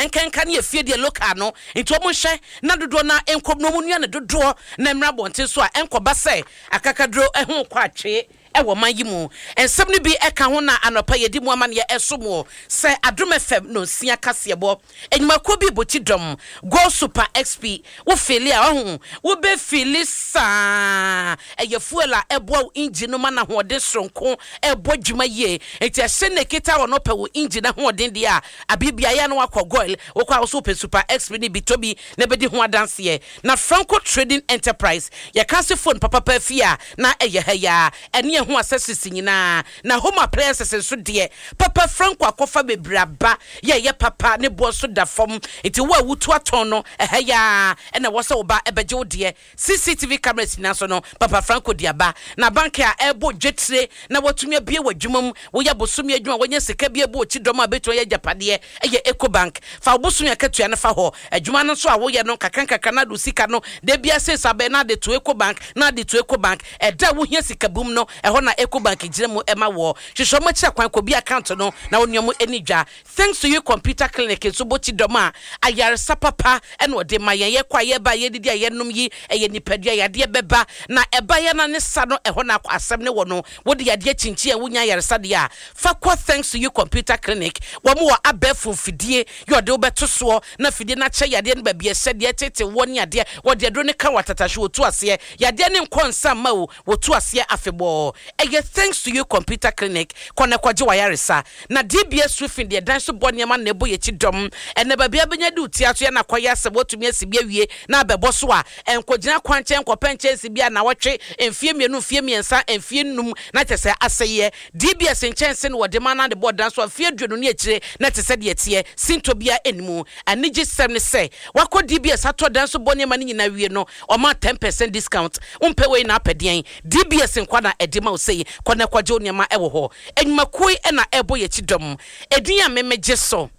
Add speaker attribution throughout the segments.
Speaker 1: Nkenka ne efie deɛ local no nti wɔn nhwɛ na dodoɔ no ara nkɔ mu na wɔn nua no dodoɔ na mmra abɔnten so a ɛnkɔba sɛ akakaduro ho rekɔ atwee wɔ ɔman yi mu. Nsɛm no bi ka ho na anɔpa yɛdi mu amaneɛ ɛso moɔ sɛ Adom FM nonsia kaseɛbɔ Nnwumakuo bi bɔ ti dɔm Go Super XP Wo feeli a wahu wo bɛ feeli saa Ɛyɛ fuel a ɛboa wo engine no ma no ahoɔden soronko ɛbɔ dwuma yie Nti ɛhyɛ na ɛkita wɔ no pɛ wo engine ahoɔden deɛ a Abere biara yɛ a na wakɔ Goil Wokɔ a wo so wopɛ Super XP no bi tɔ bi na bɛdi ho adanseɛ Na Franco Trading Enterprise yɛka ase phone papapa afie a na ɛyɛ ha yi ara ɛne ɛho accessories nyinaa Na home appliances nso deɛ papa Franco akɔfa bebree aba yɛ ɛyɛ papa ne boɔ nso da fam nti wo a wotu atɔn no ɛha yi ara na ɛwɔ sɛ wo ba bɛgye wo deɛ. CCTV cameras nyinaa nso no Papa Franco de aba. Na bank a ɛrebɔ dwetire na woatumi abue w'adwuma mu, woyɛ bosome adwuma a woanya sika bi abu wo kyidɔm a bɛtumi ayɛ agyapadeɛ ɛyɛ Ecobank. Fa wo bosome akatua no fa hɔ. Adwuma no nso a woyɛ no nkakra nkakra na ade wo sika no da biara sei saa bɛyɛ na ade to Ecobank na ade to Ecobank. Ɛda a wohia sika bum no ɛhɔ na Ecobank gyina mu ma woɔ. Hwehwɛ wɔn akyiri akwan kɔbue account no na wo ne wɔn nni dwa. Thanks to you Computer Clinic nso bɔ ti dɔm a ayaresa papa na ɔde ma yɛn. Yɛkɔ a yɛba a yɛdidi a yɛnom yi ɛyɛ nipadua yadeɛ bɛba na ɛba yɛn na ne sa no ɛhɔ na asɛm no wɔ no. Wode yadeɛ kyinkyin a wonya ayaresa deɛ a fa kɔ Thanks to you Computer Clinic. Wɔn wɔ abɛɛfo mfidie yɛ ɔde wo bɛto soɔ na fidie no akyɛ yadeɛ no baabi ɛhyɛ deɛ ɛtete woɔ ne adeɛ. Wɔde aduro no ka wo atatahwe wɔtu aseɛ. Yadeɛ no nkɔ nsa mma o wɔtu aseɛ afebɔɔ. Ɛyɛ Thanks to you Computer Clinic kɔ na kɔgye w'ayaresa. Na DBS Roofing deɛ dan so bɔ nneɛma na ɛbɔ yɛn akyi dɔm. Ɛnnɛ baabi a bɛnya de wo ti ato yɛ na akɔyɛ asɛm woatumi asi bi awie na abɛbɔ so a, ɛnkɔgyina kwankyɛn nkɔpɛ nkyɛnse bi a nnawɔtwe, mfeɛ mmienu, mfeɛ mmiɛnsa, mfeɛ nnum na kyerɛ sɛ asɛeɛ. DBS nkyɛnse na wɔde ma na de bɔ dan so a mfeɛ 20 ne akyire na ɛte sɛ deɛ ɛteɛ, sintɔ biara nni mu. Anigyesɛm ne sɛ woakɔ DBS atɔ dan so bɔ nneɛma no nyinaa awie no, wɔma 10% discount. Wompɛ wei na apɛ deɛn? DBS nkwa na ɛde ma wo sei, kɔ na kɔgye wo nneɛma wɔ hɔ. Nnwumakuo yi na ɛrebɔ yɛn akyi dɔm. Edin a me megye so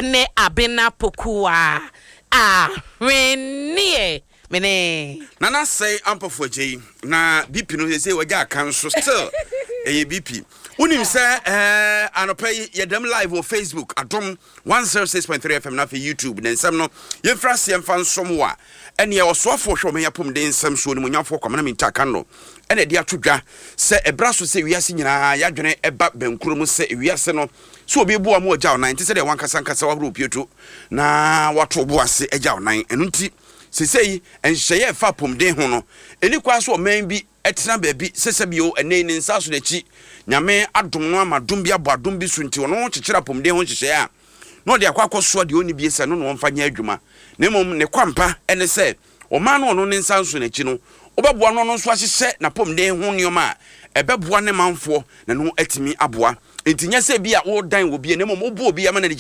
Speaker 1: ne Abena Pokuaa Ahweneɛ. Me ne.
Speaker 2: Nana sɛe ampɔfo agyei na BP no sɛsei wagya aka nso still ɛyɛ BP. Wonim sɛ ɛɛ anɔpa yi yɛdam live wɔ Facebook Adom 106.3 FM na afei YouTube ne nsɛm no yɛmfiri aseɛ mfa nsom wo a ɛneɛ ɔsoafoɔ hwɛ ɔman apɔmuden nsɛm soɔ onimuonyamfoɔ Kwamena Mintah Akanno ɛna ɛde ato dwa sɛ ɛbra so sɛ wiase nyinaa yɛadwene ɛba bɛnkuro mu sɛ wiase no sɛ obi boa mu agya ɔnan nte sɛ deɛ wankasa nkasa wahoro pieto na wato bo ase agya ɔnan. Ɛno nti sesei nhyehyɛeɛ a ɛfa apɔmuden ho no ɛni kwan so ɔman bi tena baabi sɛ sɛbio ɛnnɛ yi ne nsa so n'akyi Nyame adom no ama dom bi abɔ adom bi so nti ɔno kyekyere apɔmuden ho nhyehyɛeɛ a na ɔde akɔ akɔsoa deɛ ɔnni bie sɛ ɛno na ɔmfa nyɛ adwuma na mmom ne kwampa ne sɛ ɔman no ɔno ne nsa nso n'akyi no wobɛboa no ɔno nso ahyehyɛ n'apɔmuden ho nneɛma a ɛbɛboa ne manfoɔ na no atumi aboa. Nti nyɛ sɛ bi a wodan wɔ bi na mmom woboa obi ama no.